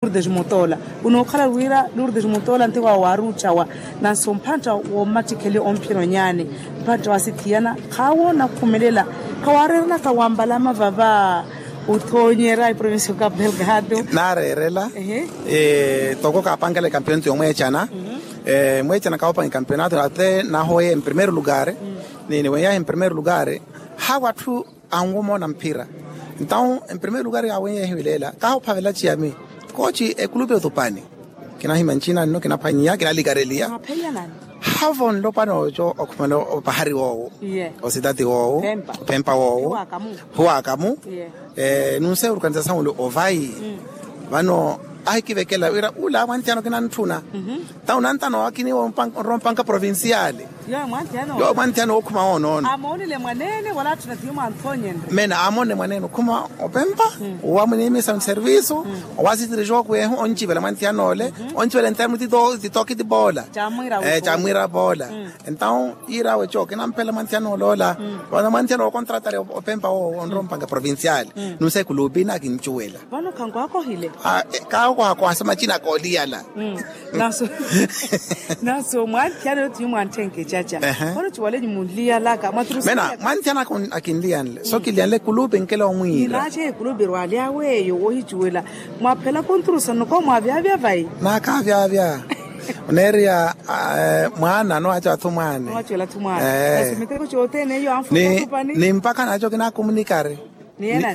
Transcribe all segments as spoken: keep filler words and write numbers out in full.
Lourdes Mutoola. Unookhala wira Lourdes Mutoola nti waawaari ocawa, nanso mphantta wommattikheliwa omphira onyaani, mphantta wasithiyana khaawoona okhumelela. Khawaareeranaka wambalama vava othoonyera eprovincia okapu delgado. Naareerela. Toko kaapankela ekampiyonato yomweecana. Mweecana kaawopanka ekampiyonato ate naahoweya emprimeiro lugar. Ni niweyahi emprimeiro lugar, hawa atthu anwomoona mphira. Entawu emprimeiro lugar yaawenyehiwe leela kaahuphavela ciyami. Kooci ekulupi otupani. Kinahimya ncina nno kinaphwanyiya kinalikareliya. Havo nlopwana oco okhumela opahari woowo, ositati woowo, ophempa woowo, huwakamu. Nunseya orukanisa sanwele ovayi. Vano ahikivekela wira ula mwanthiyano kinantthuna. Ntawu nantano akiniwa onrompanka provinciale. Yowo mwanthiyano wookhuma woonoona. Amoonile mwaneene wala atthu na tiyo mwanthoonyenre. Mena amoonile mwaneene okhuma opempa, owamwinimisa nservisu, owasitiri jooku ehu oncivela mwanthiyano ole. Oncivela entamu titoki tipoola. Camwiira poola. Entawu yiira awe cooke namphela mwanthiyano ole ola. Vano mwanthiyano wookontratale opempa woowo onrompanga provinciale. Nunse kulupi nakincuwela. Vano khankwakohile. Kaakohakoha sa macina kooliyala. Nanso mwanthiyana yotiyo mwanthenke caca. Vano ciwale nyumunliyalaka mwaturusana. Mena mwanthiyana akinliyanle so kiliyanle kulupi nkela omwiira. Naace kulupi rwalya weyo wohicuwela. Mwaphela kunturusana noko mwavyavya vayi. Naakavyavya. Oneeriya mwaana nowacela thumwaani. Nowacela thumwaani. Miteko cothene eyo anfuna. Ni mpakha naaco kinakumunikari.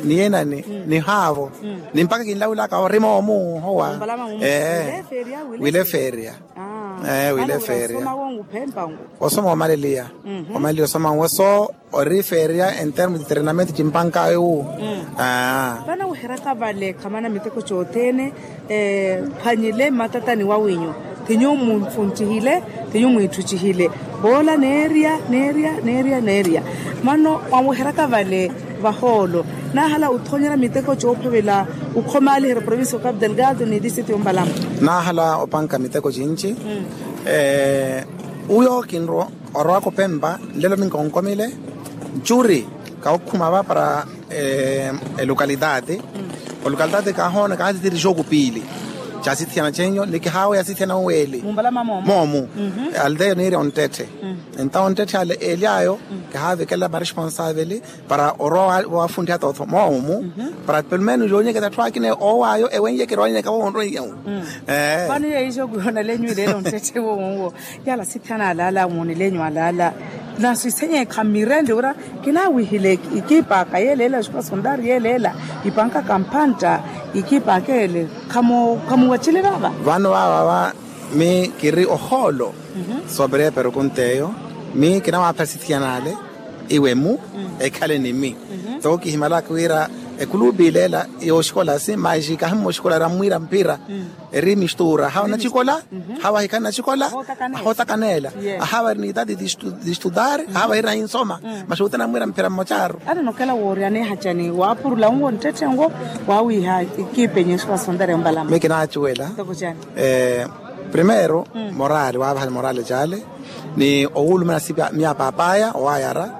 Ni yenani? Ni haavo. Ni mpakha kinlawulaka orima omuhowa. Wile feria. Wile feria. Osoma omaleliya. Omaleliya osoma nwo so ori feria entermo de treinamento cimpankawe wu. Vanaweheraka vale khamana miteko cothene. Phwanyile mmatatani wawinyu. Ti nyuwo munfuntihile, ti nyuwo mwitthucihile. Voola neerya neerya neerya neerya. Vano mwaweheraka vale vahoolo, naahala othoonyera miteko coophavela okhomaaliherya provincia okapu delgado ni distrito yompalama. Naahala opanka miteko cinci. Uyo kinrwa orowaka opempa nlelo minkonkomile. Ncuri kawokhuma va para elokalitaati. Olokalitaati kahoona kaatitiri jooku piili. Caasithiyana cenyo ni kihaaweya asithiyana oweeli. Moomu. Aldeya niirya onttetthe. Entawo onttetthe ale eeli ayo kihaavikela maresponsaaveli para orowa waafunttiha tootho moomu. Para pelo menos yoonyeketa atthu akina oowaayo ewennyeke roonyeka woonroiyawu. Vano yeyo ijo kuyoona lenyu ileela onttetthe wowo. Yaala sitthana alaala amoonilenyu alaala. Nasi senye khamirende wira kinawihile. Ikipa kayelela escola sondari yelela ipanka kampantta. Ikipa kele khamuwachile vava. Vano vava va mi kiri ohoolo. Sobre pergunta eyo mi kinawapha sithiyanale iwe mu ekhale ni mi. Toko kihimalaka wira ekulupi ilela yoxikola si maji kahimmwa oxikola ramwira mpira. Eri mistura hawa nacikola. Hawa hikhani nacikola. Ahotakanela ahawa eri ni idadi. Distudar ahawa eri nahinsoma. Maxuti anamwira mphira mmocaru. Ari nokela wooryaneha cani waapurula nwo nttetthe nwo wawiiha ikipenye escola sondari yompalama mi kinaacuwela. Primero morali waavahale morali cale ni owulumana sipa miya papaya owayara.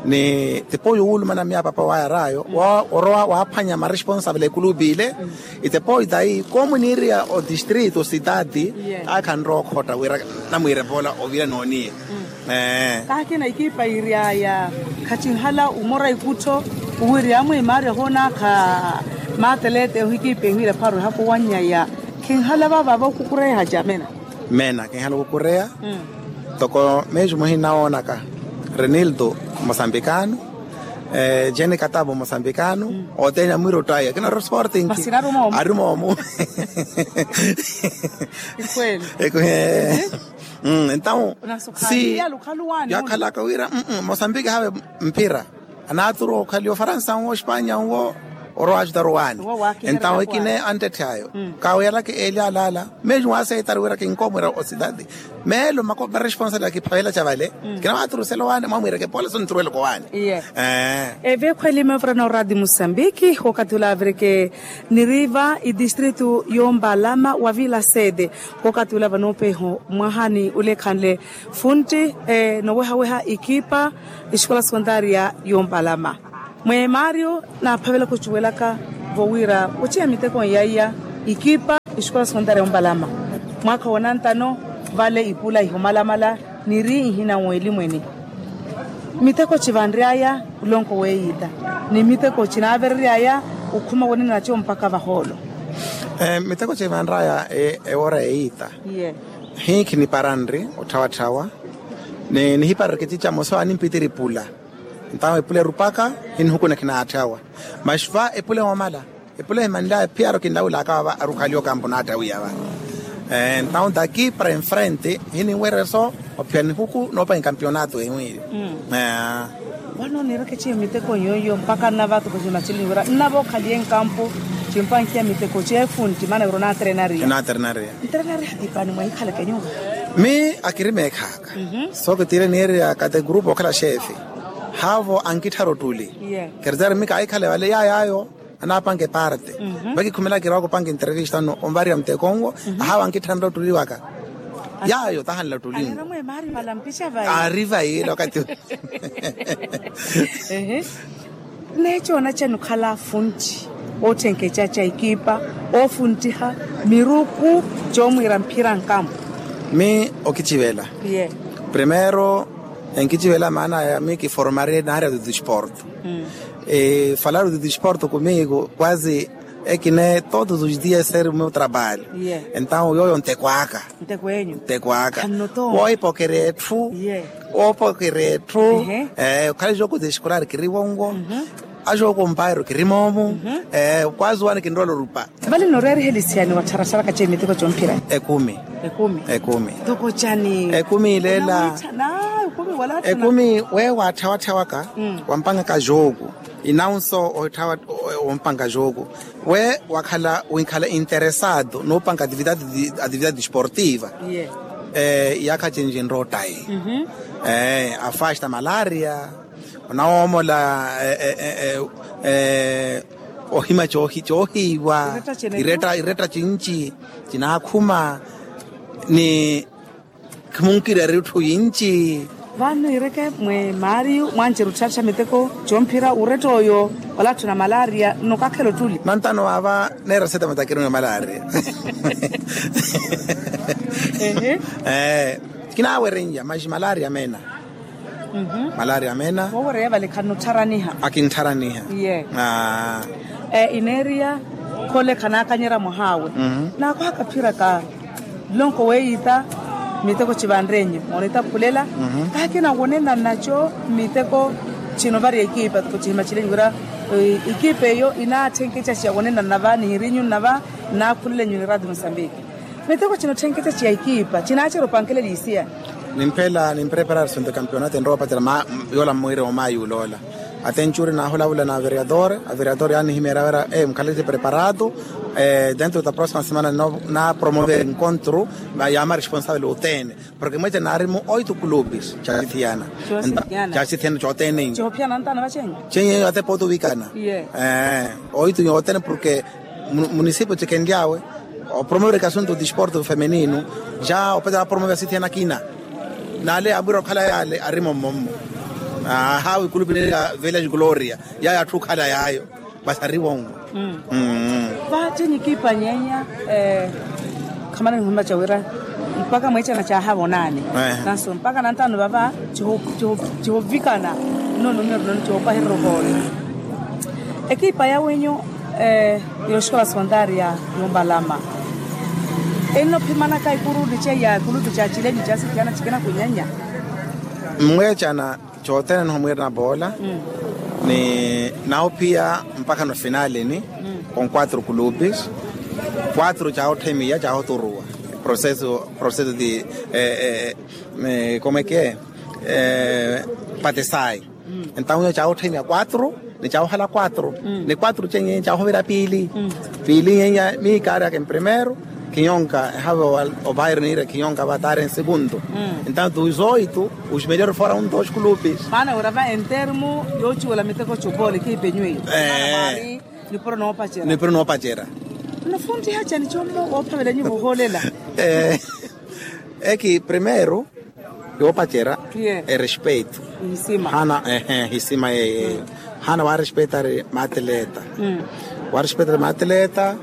Ni tipoyi owulumana miya papaya owayara ayo orowa waaphwanya maresponsable ekulupi ile. Itepoyi tayi komuniiriya odistrito sitati. Akhanrowa okhotta wira namwiire poola ovira nooniye. Kaakina ikipa iryaya khacinhala umora ikuttho uwirya amwe maari ahoonakha. Maatelete ohikipa ehwira pharo ehakowanyaya. Khinhala vavava okukureha jamena. Mena kinhala okukureya. Toko meju muhina woonaka renildo mosambikano. Jeni katavo mosambikano. Othene amwira ottaya kina ori sporting. Ari moomu. Entawo si yakhalaka wira mosambiki hawe mphira. Anaaturu okhaliwa ofaransa nwo ospanya nwo orowa ajutaru waani. Entawo ikine anttetthe ayo kawiyalaka eeli alaala. Meju waaseitaru wira kinkomwira ositati meelo mako maresponsable akiphavela ca vale. Kinawaturusela owaani mwamwireke pole sonturuweloko owaani. Evekhweli mevura na oradi musambiki okathi ula avireke niriva idistrito yompalama wa vila sede. Okathi ula vanoopeho mwahani ulekhanle funtti nowehaweha ikipa escola secondaria yompalama. Mwe mario naaphavelaka ocuwelaka vowira oceya miteko nyaiya. Ikipa ixikola sekontaari ya ombalama mwaakha wa onantano. Vale ipula ihumalamala niri ihina w'elimweni. Miteko civanry'aya olonko w'eyiita ni miteko cinaaverery'aya okhuma wonene naco mpakha vahoolo. Miteko civanry'aya ewora eyiita. Hinkhi niparanri otthawatthawa ni nihiparanri kicica moso animpitiri ipula. Ntawo epula erupaka hinihuku nakhinaatthawa. Maxi va epula ewamala epula ehimanly'aya phiyaro kinlawul'aka vava arukhaliwa okampu naattawiya va. Ntawo ntaki para enfrente hininwerya eso ophiya nihuku noopanga ekampiyonato ehiwiri. Vano niireke ciyo miteko yooyo mpaka nnava tukuxi macili wira nnava okhaliye nkampu. Cimpankiya miteko ceefunti maana wira onaaterenariya. Naaterenariya. Nterenariya hatipani mwahikhaleke nyuva. Mi akiri meekhaaka. So kitiire niirya kate gurupu okhala xeefi haavo ankittharu ottuli. Kerezari mi kaahikhale vale yaayaayo anaapanga eparte. Vakikhumela kiri wakupanga entrevista onvarya muteko nwo. Ahaavo ankitthanre ottuli waka yaayo tahanla ottuli nwo. Aari vayila wakati. Neeco onaca nukhala afunti otthenkeca ca ekipa ofuntiha miruku coomwiira mphira nkampu. Mi okicivela primeiro enkicivela maana ya mi kiformari naarya dudu esporto. Falaru dudu esporto kumiku kwazi ekine todos os dias ser meu trabalho. Entawo yooyo ntekwaaka. Ntekwaaka woohipokerya etthu. Woopokerya etthu. Okhale jogo de escolar kiriwongo. Ajogo mpairo kirimoomu. Kwazi wani kinrola orupa. Vale noreerihelisiya ni wattharattharaka ceemiteko comphira. Ekumi. Ekumi. Ekumi ileela. Ekumi wala ekumi wee waatthawattha waka wampangaka jogo. Inaunso otthawa wompanka jogo wee wakhala winkhala interesado noopanka atividade esportiva. Iyaakha cinci nrottayi. Afasta malaria onawoomola ohima coohiiwa. Iretta cinci cinaakhuma ni khumunkireerya etthu yinci. Vano ireke mwe maariyu mwanceru otthattha miteko comphira uretta oyo wala atthu na malaria nnokakhela ottuli. Nantano vaava neera sete matakirino ya malaria. Kinaawerenrya maxi malaria meena. Malaria meena. Woowereya vale khannuttharaniha. Akinttharaniha. Ineeriya khole khanaakanyerya mwahaawe. Naakwaka phiraka nlonko weeyiita miteko civanrenyu moonitaphulela. Kaakina wonenana naco miteko cino vari ekipa tuko cihima cilenyu wira ekipa eyo inaatthenkeca ciya wonenana va nihirinyu nnava nnaakhulelenyu ni radio mosambiki. Miteko cino otthenkeca ciya ekipa cinaacerya opankelela isiya. Nimphela nimpreparar sunto campeonato enrowa opatera yoola mmwiire wa mayi uloola. Atenchuri naahulavula na avereador avereador yaanihimeerya wira mukhaleti preparado. Dentro da próxima semana naapromover encontro ya ma responsable othene. Porque mweece naarimu oito clubes caasithiyana. Caasithiyana cothene. Ceeyo ate pooti ovikana. Oito yothene porque munisipio cikenly'awe opromover ekasunto disporto femenino. Ja opatera apromover asithiyana akina. N'ale amwira okhala y'ale arimo mmommo. Ahawi kulupi neeri ya village gloria yayo atthu okhala yayo. Masi ariwongo. Vaatini ekipa nyeenya khamana nihumaca wira mpakha mweecana caahavonaani. Nanso mpakha nantaano vava cihovikana nno numero noni cihopahererya ohoole. Ekipa ya wenyu yoxikola sekontaari ya yombalama enno phimanaka ikuru ni ceiya ikulutu ca cilenyu ca sikiyana cikina kunyanya. Mmweecana cothene nihomwiirana boola ni naophiya mpakha no finalini. Con quatro kulupis quatro caahotthemiya caahoturuwa proceso proceso di como eke patesayi. Entawo caahotthemiya quatro ni caahohala quatro ni quatro ceiye caahovira piili. Piili yeiya miikaari aka emprimero khiyonka ehave opairo niira khiyonka vataari ensegunto. Entawo tuizoito uximelero fora un dos kulupis. Maana wira va entermu yoociwela miteko copoola ekipa enyu eyo. Nipuro noopacera. Nipuro noopacera. Nnafuntiha cani commo woophavela nyuva ohoolela? Eki primero yoopacera erespeito. Hana ehe hisima yeyeyo. Hana waarespeitari maatileta. Waarespeitari maatileta.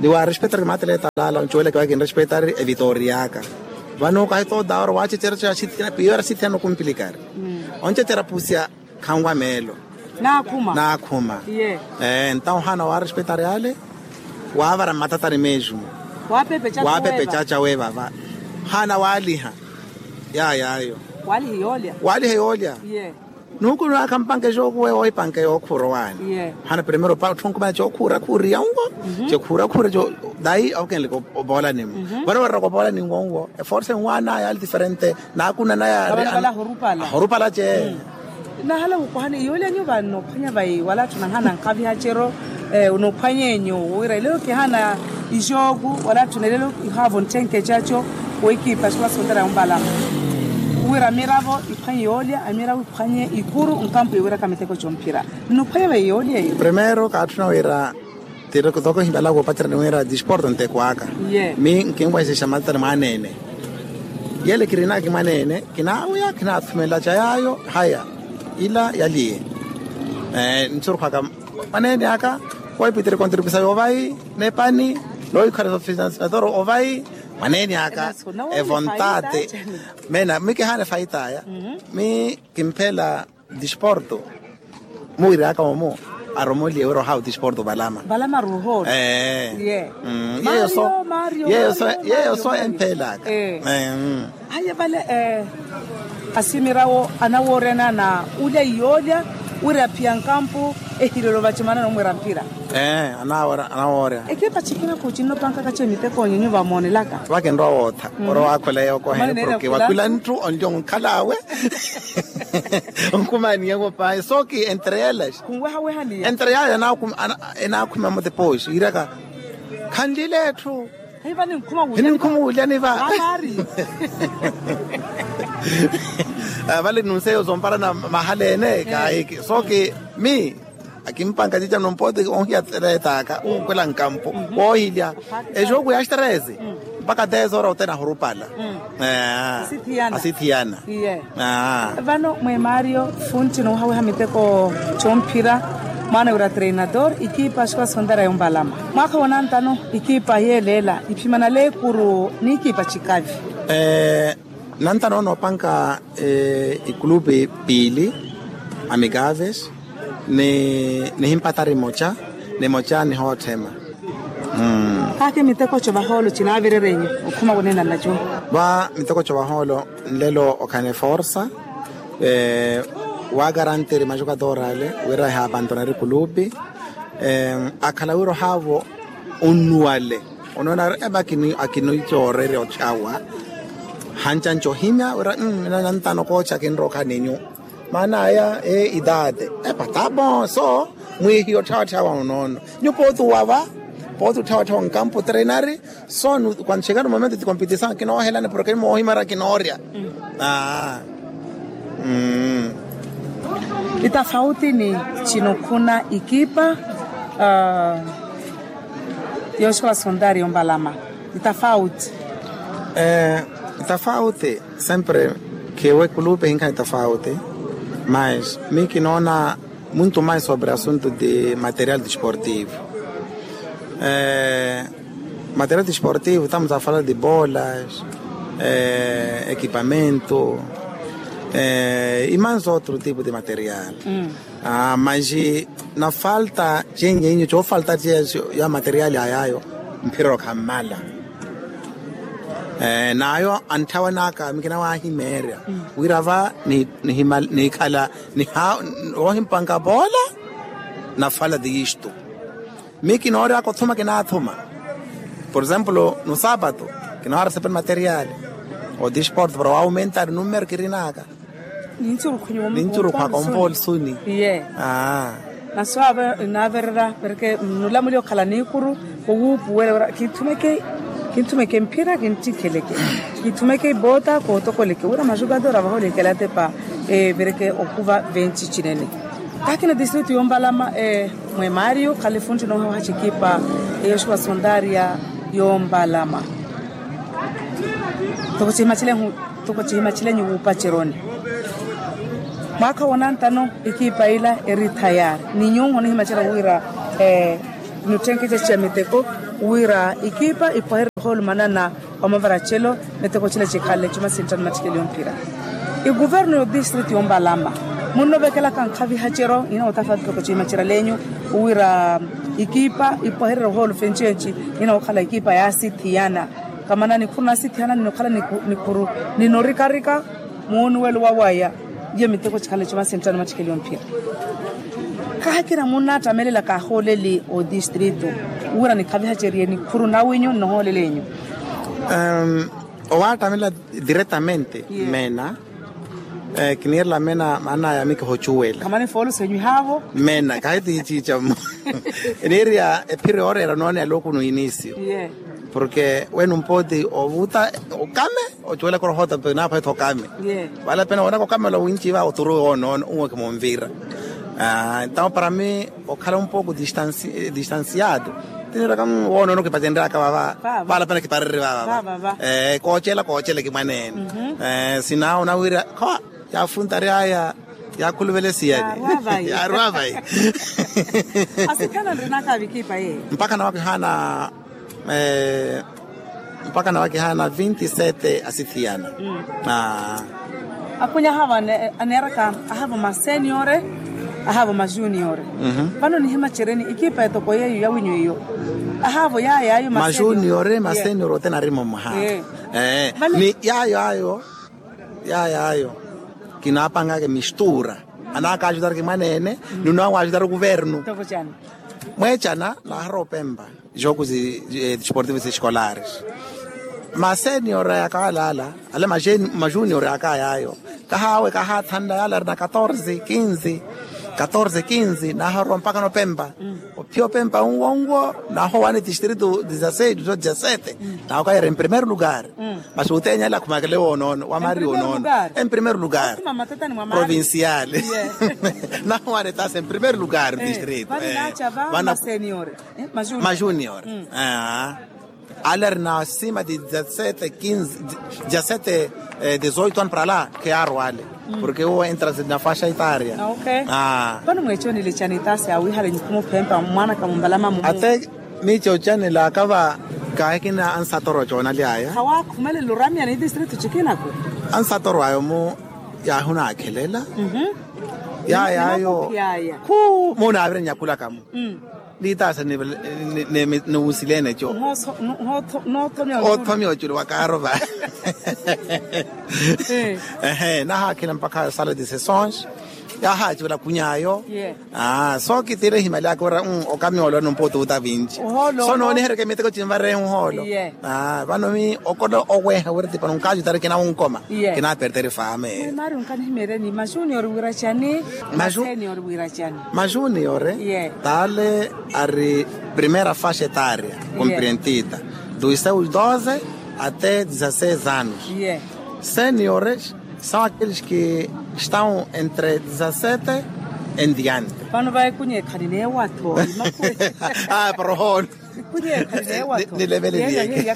Ni waarespettari maatele etalala oncuwela kiwa kinrespettari evitoriyaka. Vano kahi toda ora waacecerya piyo era sithiyana okumpilikari. Oncecerya pusiya khanwa meelo. Naakhuma. Naakhuma. Ntawo haana waarespettari ale. Waavara mmatatani mesmo. Waapepecaca weevava. Haana waaliha. Yayaayo. Waaliha yoolya. Nuuku nwaakha mpanke jookuwe ohipanke yookhuura owaani. Hana primero pa otthunkumana jookhuura khuuriya nwo. Jekhuura khuura jo dayi awokenleke opoolani nwo. Vano wareraka opoolani nwo nwo eforce nwaana yaali diferente. Naakunana yaari ahorupala je. Nahala wukwahani yoolya nyu vano phwanya vai wala atthu nahana nkaviha cero. Unophwanya enyu wira elelo kihana ijooku wala atthu nelelo ihaavo ntthenke caco. Weikipa siwa sontera yompalama wira miravo iphwanye yoolya amiravo iphwanye ikuru nkampu yowiraka miteko comphira. Nnophwanya vai yoolya eyo. Primero kaatthuna wira tiri toko himala woopacerya ni wira disporto nteko aka. Mi nkinwahisexa matatani mwaneene. Yele kirinaki mwaneene kinaaweya kinaathumelela ca yaayo. Haya ila yaliye. Nthurukhaka mwaneene aka. Koipitiri kontribusao ovayi nepani. Loikhala sofisinatoro ovayi mwaneene aka. Evo ntaate. Mena mi kihaana efaitaya. Mi kimphela disporto. Muwiraka omu aromoliye wira ohawa odisporto valama. Valama ruhoro. Yeyo so. Yeyo so. Emphelaka. Aye vale. Asimirawo anawoorena na ulya iyoolya wira aphiya nkampu. Ehilelo vacimanana omwira mphira. Anawoorya. Ekipa cikina kucinno pankaka cemiteko nyinyu vamoonelaka. Vakinrowa wootha orowa akhwela yookohene porke wakhwila nthu onlyo nkhalaawe. Onkhumaniya ng'opaye sooki entre elas. Khunwehawehaniya entre yayo. Enaakhuma mutepooxi yiiraka khanlile etthu. Hininkhuma wulyani va. Vale nunseyo zomparana mahala ene kaahiki sooki mi akimpanka cica nompoti onhiya tsereetaka okhwela nkampu woohilya. Exooku ya strese mpaka dez hora ote nahurupala. Asithiyana. Vano mwe mario funti noohawiha miteko comphira mwaana wira treinador ikipa xikola sontera yompalama mwaakha wonantano ikipa yeeleela iphimana leekuru n'ikipa cikavi. Nantano noopanka ikulupi piili amikaves nihimpatari moca nimoca nihootthema. Hake miteko co vahoolo cinaavirerenyu okhuma wonena naco. Va miteko co vahoolo nlelo okhane forsa waagaranteri majukatorale wira ehaapantonari kulupi. Akhala wira ohaavo onnuwale onoonari eba akinoicoorerya otthawa. Hancanca ohimya wira nantano koocha kinrookha ninyu maana aya e idade. Epa tapo so mwiihiya otthawatthawa onoono nyu pooti uwava pooti otthawatthawa onkampu trenari. So kwanchekani momento ti kompitisaw kinoohelani porke nimoohimarya kinoorya. Itafauti ni cinokhuna ikipa yoxikola sondari yompalama. Itafauti. Itafauti sempre. Khiwe kulupe hinkha itafauti mas mi kinoona muntu mais sobre asunto de material desportivo. Material desportivo tamuza fala de bolas, ekipamento, e mais otro tipo de material. Mas na falta cenye inyu coofalta ceya ya material ayayo mphiroro khammala. N'ayo antthawan'aka mikina waahimeerya wira va nihikhala woohimpanka poola na fala de isto. Mi kinoory'aka othuma kinaathuma por exemplo no sapato kinoohara sepeni materiali o disporto para waawumentari numero kirin'aka. Nincurukhwaka ompooli suni. Iye. Naswaava inaavererya perke nnulamuli okhala niikuru kowuupuwela wira kinthumeke mphira kinttikheleke kinthumeke ipoota kootokoleke wira majugadora vahoolekela atepa. Evereke okhuva venci cinene akina distritu yompalama. Mwe mario khalifunti noohawaha cikipa eyoxiwa sontaria yompalama. Toko cihimacilenhu toko cihimacilenyu wuupaceroni mwaakha woonantano. Ekipa ila eri thayari ni nyuuho nihimacela wira nutthenkece ciya miteko. Wira ikipa ipwahererye ohoolumanana wa mavaracelo. Miteko cila cikhanle cuma sinttano mattikeliyo mphira. Ikuvernu y'odistritu y'ombalama munnovekelaka nkhavihaceryo nina wothafa miteko cimacerya lenyu wira ikipa ipwahererye ohoolu fenci enci nina wokhala ikipa yaasithiyana. Kamana nikhuru naasithiyana nina okhala nikhuru nina orikarika. Muunuwelo wawaya. Iyo miteko cikhanle cuma sinttano mattikeliyo mphira. Khaakina munnaattamelela kaahooleli odistritu wira nikhavihacerye nikhuru nawinyu nnohoolel'enyu. Owaattamelela diretamente meena. Kiniirela meena maana yami kihocuwela. Kamani foolusenyu ihaavo. Meena kahi tiiciica mmo. Eniiriya ephiro yooreera noone alokunu inisio. Porke wenu mpooti ovuta okame ocuwelaka orohoota pena apweto okame. Vale pena woonaka okame ola winci va oturuwe woonoono uwo kimunvira. Entawo para mi okhala un poku distanciado. Tiniraka woonoono kipatenryaka vava. Vale pena kiparerye vava. Koocela koocela kimwaneene. Sinawo nawira kho yaafuntaryaya. Yaakhuluvele siyani. Yaarwa vayi. Asikhana nrinaka vikipa yeye. Mpakha nawakihaana mpakha nawakihaana vinti sete asithiyana. Akhunye ahaavo aneeraka ahaavo maseniore ahaavo majuniore. Vano nihimacereni ikipa etoko yeeyo yawinyu eyo. Ahaavo yaayo ayo majuniore maseniore ote narimo mwaha. Ni yaayo ayo. Yaayo ayo kinaapangaka emistura. Anaakaajutara kimwaneene. Ni onaawaajutara okuvernu. Mweecana naaharowa opempa joku desportivos escolares. Masenior yaka alaala ale majunior yaka yaayo. Kahaawe kahaathanla yaala arina katorze kinze. Katorze kinze naaharowa mpakha nopempa. Ophiya opempa unwo unwo naahowaani distritu dizaseis dizaseis dizaseis. Naawakayera en primeiro lugar. Masi uteenya ale akhumakele woonoono wamari woonoono. En primeiro lugar provincial. Nahowaani taasi en primeiro lugar distritu. Vano majunior. Ale ari na sima di dizasete kinze dizasete dizoito ano para la. Kheyaarowa ale porke uwo entra na faxa itaria. Vano mweeconile cani taasi awihalenyi khumuphempa mwanaka mumbalama mumu. Ate miice ocanelaka va kaahikina ansatoro coonalyaya. Khawakhumelela oramya ni distritu cikinako. Ansatoro ayo mu yaahunaakhelela. Yayaayo khu munaavire nyakulaka mu. Niitaasa niwusilene co. Othomya oculu wa kaaro va. Ehe nahaakhela mpakha sala de sessons. Yahaaciwela khunyaayo. So kitire ehimali aka ora okami olwa numpa otuuta vinci. So noonihereke miteko cinvarehe nhoolo. Vano mi okola oweha wira tipano nkaajutari kinawonkoma. Kinapertere faame. Mari onkanihimereni majunior wira cani? Majunior wira cani? Majunior taale ari primera faxa etaria. Komprentida dos seus doze até dezasseis anos. Seniores são aqueles que estão entre dezassete em diante. Vano vaye khunyeekhani neewattho. Para ohoona. Khunyeekhani neewattho. Nilevele liyeke.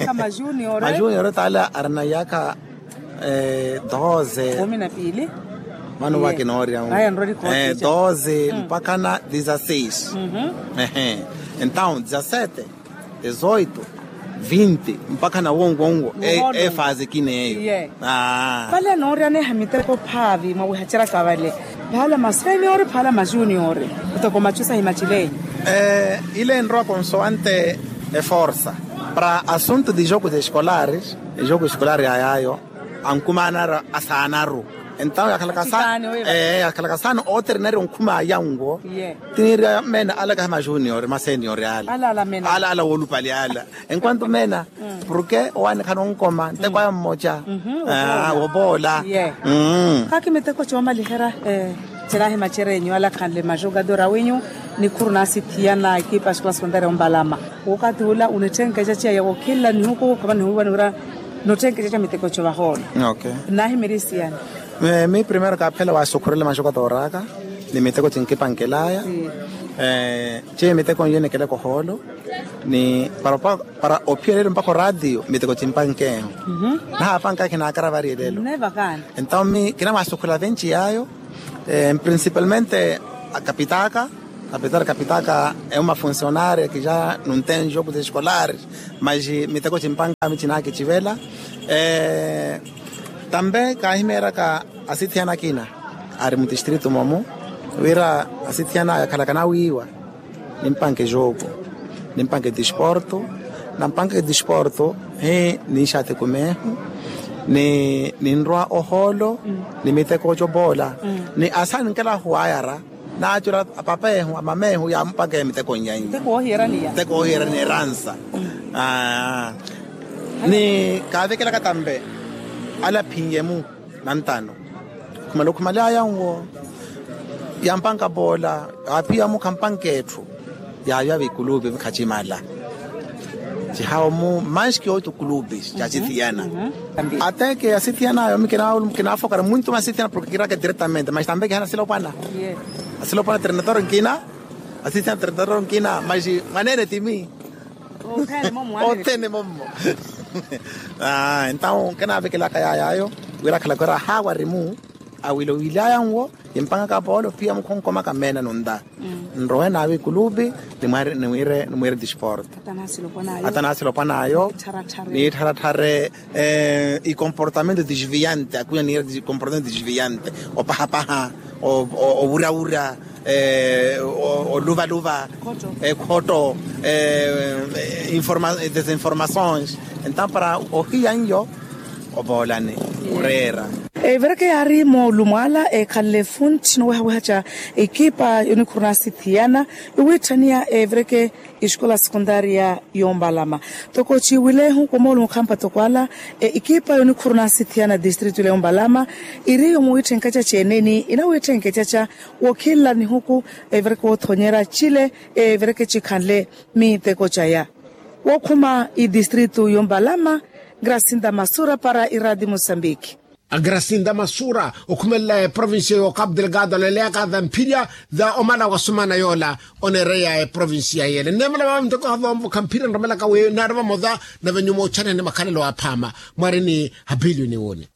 Majunior taala arina iyaka doze. Kumi na piili. Vano vakinoorya doze mpakha na dezasseis. Entawo dezasete, dezoito, vinti mpakha na wonwo wonwo. Efaze kina eyo. Vale nooryaneha miteko phaavi mwawihaceryaka vale. Phaala maseniori phaala majuniori. Kutoko machu sahimacilenyu. Ile enrowa konsoante eforsa para assunto de jogo de escolares. Ejogo escolar yayayo ankumaanaru asaanaru. Entawo yakhalaka saana ooterinari onkhumaya nwo. Tiniirya meena ala kahi majunior masenior ala. Ala woolupali ala. Enquanto meena porke owaani khanonkoma nteko aya mmoca. Wopoola. Khakimiteko coomaliherya. Cinaahimacerenyu ala khanle majogador awinyu. Nikhuru naasithiyana ekipa ya escola secundaria ombalama. Wokati ula onitthenkececa ya wokhilla nihuku khamana nihuwiwa niwira. Notthenkececa miteko co vahoona. Naahimirisiya. Mi primero kaaphela waasukhurela majogador aka ni miteko cinkipankelaya. Ciiyo miteko nyo enekeleka ohoolo. Ni para ophiyela elelo mpakha oraatiyo miteko cimpankeeho. Nahaapanka khinaakara vari elelo. Entawo mi kinamwaasukhula venci yaayo. Principalmente akapitaaka. Apesar kapitaka emu mafuncionario kija nuntenjo kuza escolar, mas miteko chimpanga michina kicivela. Tambe kahimeeraka asithiyana akina ari mutistritu momu, wira asithiyana yakhalaka nawiiwa, nimpanke jogo, nimpanke disporto, nampanke disporto hi ninxati kumehu, ni ninrwa oholo, ni miteko ocopola, ni asa ninkela huwayara, naacula apapehu amamehu yaamupanke miteko nyanyi. Miteko ohiyerani eransa. Ni kaavekelaka tambe ala aphinye-mu nantano. Khumala okhumalyaya nwo, yampanka poola, aaphiya-mu khampanka etthu. Yaaviya vikulupi vikhachimala. Cihawo-mu manski otu kulupi cacithiyana. Ateke asithiyana ayo mi kinaafokara muntu masithiyana porke kiraka diretamente mas tambe kihana asilopwana. Asilopwana trenador nkina. Asithiyana trenador nkina mas mwaneene timi. Othene mommo. Entaw kinavekelaka yay'ayo wira akhalaka ora haawa arimu awilo wilaya nwo. Kimpangaka poolo piya mukhonkomaka meena nunta. Nrowe naavi kulupi nimwire disporto. Ata naasilopwan'ayo niittharatthare ikomportamento disviante akwiya niire ikomportamento disviante opahapaha, ovurawura, oluvaluva, ekhotto, desinformações. Entaw para ohiya nyo opoolani oreera. Evereke yaari moolumwaala ekhalle funthi nowehaweha ca ekipa yonikhuruna asithiyana iwiitthaniya evereke escola sekundaria yombalama. Toko ciiwilehu kumoolumukhampa toko ala ekipa yonikhuruna asithiyana distritu ila yombalama iri yomuwiitthenkeca ceeneni inawiitthenkeca ca wokhinla nihuku evereke woothonyera cile evereke cikhanle miteko caya. Wookhuma idistritu yombalama grasinda masura para iradi mosambiki. Grasinda masura okhumelela eprovincia y'okapu delgado aleleyaka thamphirya tha omala wa sumana yoola oneereya eprovincia yeele nneemela vaavo nteko havomvokha mphirya nromelaka wi naari vamo tha nave nyuma ochanihani makhalelo aphaama. Mwarini hapilioni woni.